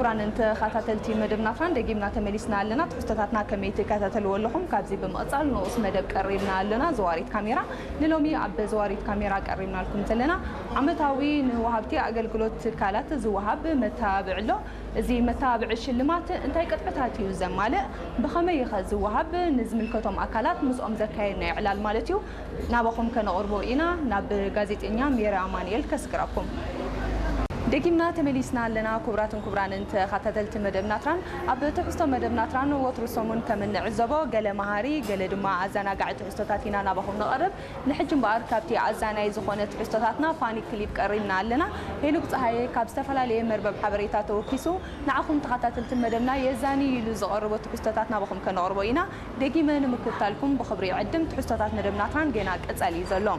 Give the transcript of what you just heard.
ክቡራን ተኸታተልቲ መደብ ናትራን፣ ደጊምና ተመሊስና ኣለና። ትሕዝቶታትና ከመይ ትከታተልዎ ኣለኹም? ካብዚ ብምቕጻል ንኡስ መደብ ቀሪብና ኣለና። ዘዋሪት ካሜራ፣ ንሎሚ ኣብ ዘዋሪት ካሜራ ቀሪብናልኩም ዘለና ዓመታዊ ንወሃብቲ ኣገልግሎት ትካላት ዝወሃብ መተባብዒ ኣሎ። እዚ መተባብዒ ሽልማት እንታይ ቅጥዕታት እዩ ዘማልእ? ብኸመይ ኸ ዝወሃብ? ንዝምልከቶም ኣካላት ምስኦም ዘካየድናዮ ዕላል ማለት እዩ። ናባኹም ከነቕርቦ ኢና። ናብ ጋዜጠኛ ሜሪ ኣማኑኤል ከስግረኩም። ደጊምና ተመሊስና ኣለና። ክቡራትን ክቡራንን ተኸታተልቲ መደብ ናትራን፣ ኣብ ትሕዝቶ መደብ ናትራን ወትሩ ሰሙን ከም እንዕዘቦ ገለ መሃሪ፣ ገለ ድማ ኣዘናጋዒ ትሕዝቶታት ኢና ናባኹም ነቐርብ። ንሕጂ እምበኣር ካብቲ ኣዛናይ ዝኾነ ትሕዝቶታትና ፋኒ ክሊፕ ቀሪብና ኣለና። ሄኖክ ጸሃየ ካብ ዝተፈላለየ መርበብ ሓበሬታ ተወኪሱ ንዓኹም ተኸታተልቲ መደብና የዛኒ ኢሉ ዘቐርቦ ትሕዝቶታት ናባኹም ከነቕርቦ ኢና። ደጊመ ንምክትታልኩም ብኽብሪ ይዕድም። ትሕዝቶታት መደብ ናትራን ገና ቀጻሊ እዩ ዘሎ።